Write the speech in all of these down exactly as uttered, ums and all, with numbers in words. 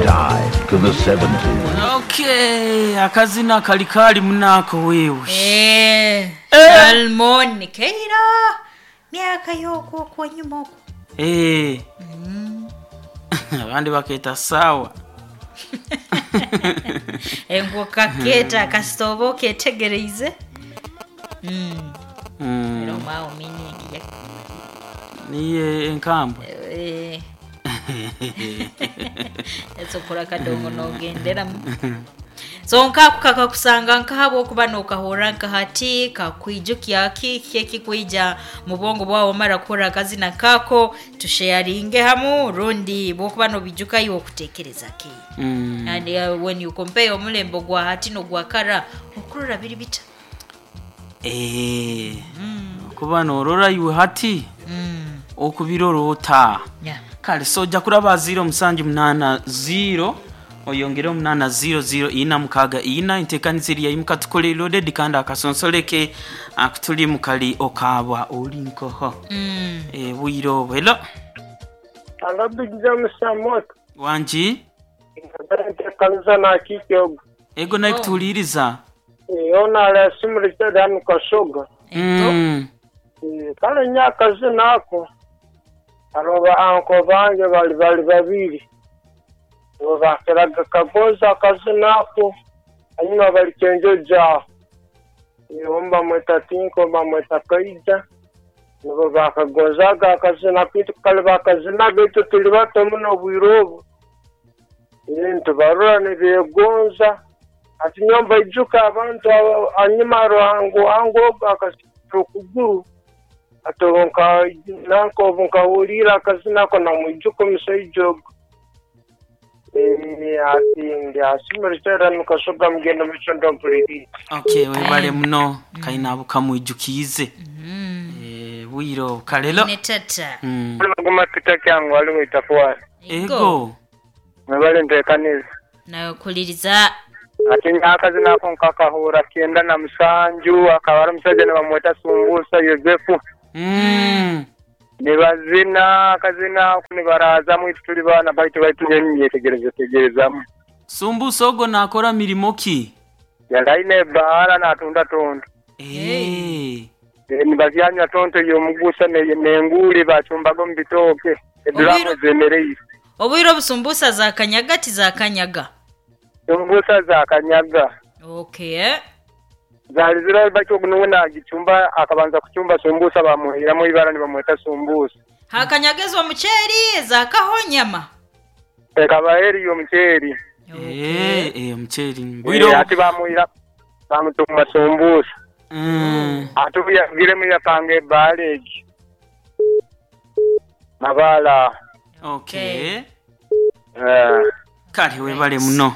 time to the seventies. Okay, akazina kali kali munako wewe. Eh, Salmon Keira myaka yokwo kwanyuma okwo. Eh. Abandi baketa sawa. Engo kaketa kasita oba oketegereize. Mm. Mm. Era omwawo meaning ya Niye enkambwe. eh. Esokora kadongo nogenderamu. So nkaku kakakusanga nkahabwo okuba nokahurra nkahati kakwijukya ki kyekikwija mu bwongo bwawe omara kuhurra akazina kako tusharinge hamu rundi bwokuba nobijuka iwe okutekereza ki. Mm. And uh, when you compare omulembo gwa hati n'ogwa kara okurora biri bita. Eh. Kuba norora iwe hati Mm. okubirorota. Yeah. Kale sojja kuraba ziro musanju munana ziro oyongere omunana ziro ziro ina mukaga ina enteekaniza eri yayimuka tukole loaded kandi akasonsoleke akutuli mukali okabwa oli nkoho. Mm. Eh, bwire obwo hello. Alo Big Samoto. Wangi. Nteekaniza nakikyogo. Ego naye kutuuliriza. Ona alasimulikya hanu Kasoga. Ego. Mm. Eh, Kale nnyo akazina ako abo ba anko bange bali bali babiri bo bakeraga kagoza akazina ako hanyuma bali kyenjoja omu bamweta Tinko omu bamweta Kaija nibo bakagozaga akazina kitu kale bakazinaga itwe tuli bato muno obwire obu. Eh, nitubarora nibegonza ati nyowe mbaijuka abantu abo hanyuma Ruhango wange ogu akasita okuguru ati obu nka nanka obu nkahuriire akazina ako namwijuka omusaija ogu. Eh, ati ndi asimulikya nukasoga mugenda mukisondo mpuliriire. Okay, webale muno kaina abo kamwijukiize. Mm. Eh, bwire obwo kale lo. Ne tata. Mm. Guma pita kyangu waliwo itafuwani. Ego. Mwebale nteekaniza. Nakuliriza. Ati akazina ako nkakahura kyenda na musanju akaba ari omusajja nibamweta Sumbusa Yozefu. Mm. Nibazina akazina ako nibarazamu itwe tuli baana baitu baitu nyowe ninyetegereza tegerezamu. Sumbusa ogo nakora mirimo ki? Yali aine ebbaara natunda tonto. Eh. Eh, nibabyanywa tonto y'omugusa ne- n'enguuli bacumbaga omu bitooke eduraamu Obwire- zemereire. Obwire obusumbusa za kanyaga ti za kanyaga. Sumbusa za kanyaga. Okay. Zali zira baitu ogu nuwe nagicumba akabanza kucumba sumbusa bamuhiramu ibara nibamweta sumbusa. Hakanyaga ez'omuceeri ezakaho nyama. Ekaba eri y'omuceeri. Eh, eh omuceeri. Eh, Bwire ati bamuhira bamutuma sumbusa. Mm. Ate obu yavugiremu yapanga ebbaala egi. Mabaala. Okay. Eh, Kale webale muno.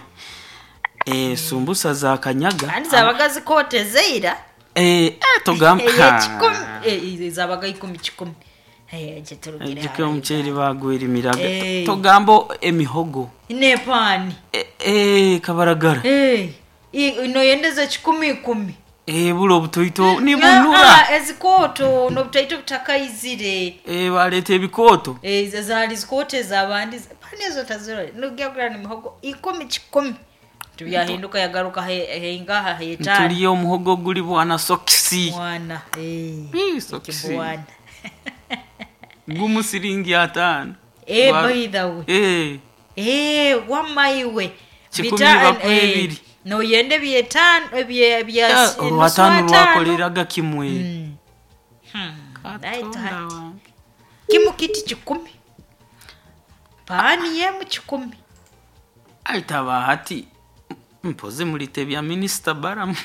Eh, sumbusa za kanyaga. Kandi zabaga zikooteze ira. Eh, eh togamba. Ey'ekikumi eh, zabaga ikumi kikumi. Eh, ekyo turugire Ejjuka hara omuceeri bagwerimiraga. Eh. Togamba emihogo. Nepaani. Eh, eh kabaragara. Eh, i- noyendeza kikumi ikumi. Eh, bula obutoito Ah, nibunura. ah, ezikooto n'obutaito butakaizire. Eh, baleeta ebikooto. Eh, ezo zaali zikooto ez'abandi pani ezo tazirora nogya kugura nemihogo ikumi kikumi tubyahinduka yagaruka he- heingaha hetaano Ntulya omuhogo guli bwana sokisi. mwana eh, Ii, sokisi. ekibwana Gumu siringi ataano. Eh, Gwa- by the way. Eh. Eh, wamma iwe Kikumi Bita- bakuwa eh, ebiri. noyenda ebyetaano ebye- bya Eh, nusu olwataano ataano. lwakoleraga kimwe. Mm. Hmm, right, Katonda hati. wange. Kimu kiti kikumi paani yemu kikumi Aitaba hati mpozi mulite bya minisita Baramu.